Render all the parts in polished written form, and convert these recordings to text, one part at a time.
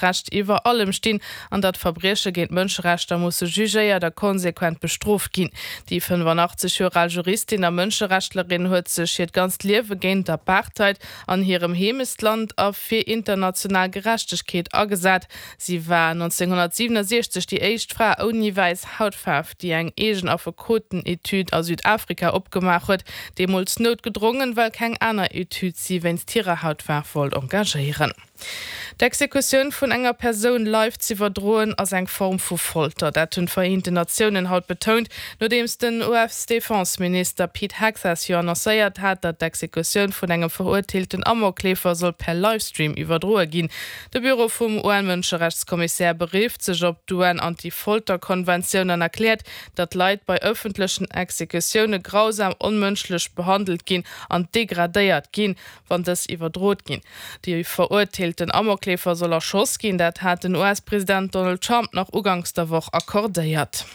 Recht iwwer allem stinn an datt Verbrieche géint d'Mënscherechter musse jugéiert a konsequent bestrooft ginn. Déi 85 Joer al Juristin a Mënscherechtlerin huet sech hiert ganzt Liewe géint d'Apartheid an hirem Heemechtsland a fir international Gerechtegkeet agesat. Si war 1967 déi éischt Fra ouni wäiss Hautfaarf, déi eng eegen Affekoten-Etüd a Südafrika opgemaach huet, deemools noutgedrongen, well keng aner Etüd si wéinst hirer Hautfaarf wollt engagéieren. D'Exekutioun vun enger Persoun live z'iwwerdroen, ass eng Form vu Folter. Dat hunn d'Vereenten Natiounen haut betount, nodeems den US-Defenseminister Pete Hegseth jo annoncéiert hat, datt d'Exekutioun vun engem verurteelten Amokleefer soll per Livestream iwwerdroe ginn. De Büro vum UN-Mënscherechtskommissär berifft sech op d'UN-Anti-Folter-Konventioun an erkläert, datt Leit bei ëffentlechen Exekutioune grausam, onmënschlech behandelt ginn an degradéiert ginn. wann dës iwwerdrot ginn. De verurteelten Amokleefer soll erschoss ginn, dat hat den US-President Donald Trump nach uganks der Woch accordéiert.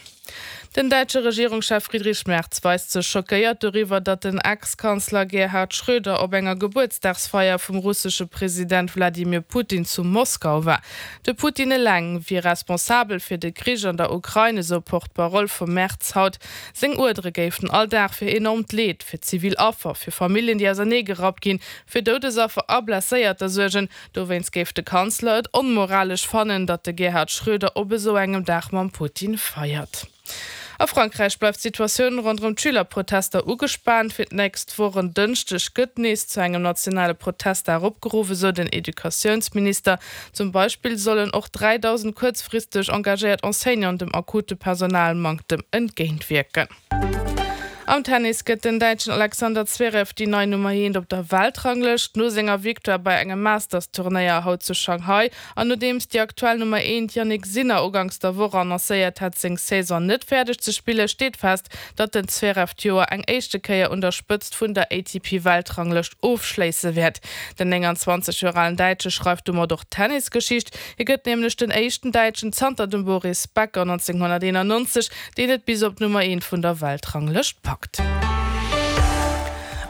Den däitsche Regierungschef Friedrich Merz weist sech schockéiert doriwwer, datt den Ex-Kanzler Gerhard Schröder op enger Gebuertsdagsfeier vum russesche President Wladimir Putin zu Moskau war. De Putin eleng wier responsabel fir de Krich an der Ukrain, esou Porte-parole vum Merz haut. Seng Uerdere géifen all Dag fir enormt Leed, fir zivil Affer, fir Familljen, déi ausernee gerappt ginn, fir Doudesaffer a Blesséierter suergen. Dowéinst géif de Kanzler et onmoralesch fannen, datt de Gerhard Schröder op esou engem Dag mam Putin feiert. A Frankräich bleift d'Situatioun ronderëm d'Schülerprotester ugespaant. Fir d'nächst Woch en Dënschdeg gëtt nees zu engem nationale Protestdag opgeruff, esou den Educatiounsminister. Zum Beispill sollen och 3.000 kuerzfristeg engagéiert Enseignanten dem akute Personalmanktem entgéintwierken. Am Tennis gëtt den Däitschen Alexander Zverev déi nei Nummer eent op der Weltranglëscht. No senger Victoire bei engem Masters-Turnéier haut zu Shanghai an nodeems déi aktuell Nummer eent Jannik Sinner uganks der Woch annoncéiert hat, seng Saison net fäerdeg ze spillen, steet fest, datt den Zverev d'Joer eng éischte Kéier un der Spëtzt vun der ATP-Weltranglëscht ofschléisse wäert. Den 29 Joer alen Däitsche schreift domat och Tennisgeschicht. Hie gëtt nämlech den éischten Däitschen zanter dem Boris Becker 1991, deen et bis op d'Nummer eent vun der Weltranglëscht packt.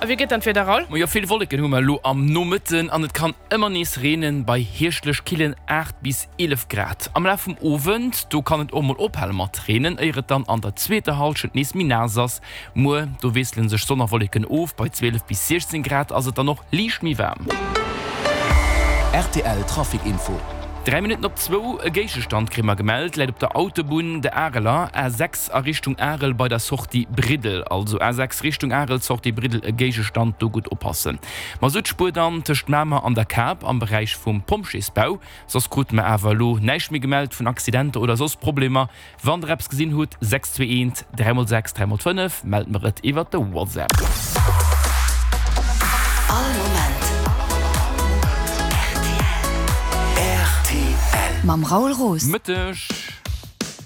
A wéi gëtt dann d'Wieder, Raoul? Majo, vill Wolleken hu mer elo am Nomëtten an et kann ëmmer nees reenen, bei hierschtlech killen 8 bis 11 Grad. Am Laf vum Owend, do kann et och mol ophale mat reenen, éier et dann an der zweeter Hallschent nees méi naass ass. Muer, do wiessele sech Sonn a Wolleken of, bei 12 bis 16 Grad ass et dann och liicht méi waarm. Rtl Trafic Info. 3 Minutten op zwou, e Géigestand kréie mer gemellt, läit op der Autobunn de Areler A6 a Richtung Arel bei der Sortie Briddel. Also A6 Richtung Arel, Sortie Briddel, e Géigestand, do gutt oppassen. Masuttspuer dann tëscht Mamer an der Kap am Beräich vum Pompjeesbau. Soss krute mer awer elo näischt méi gemellt vun Accidenter oder soss Problemer. Wann der eppes gesinn hutt, 6 2 1 3 x 6 3 x 5, mellt mer et iwwert de WhatsApp. All Moment rtl. Mam Raoul Roos. Mëtteg.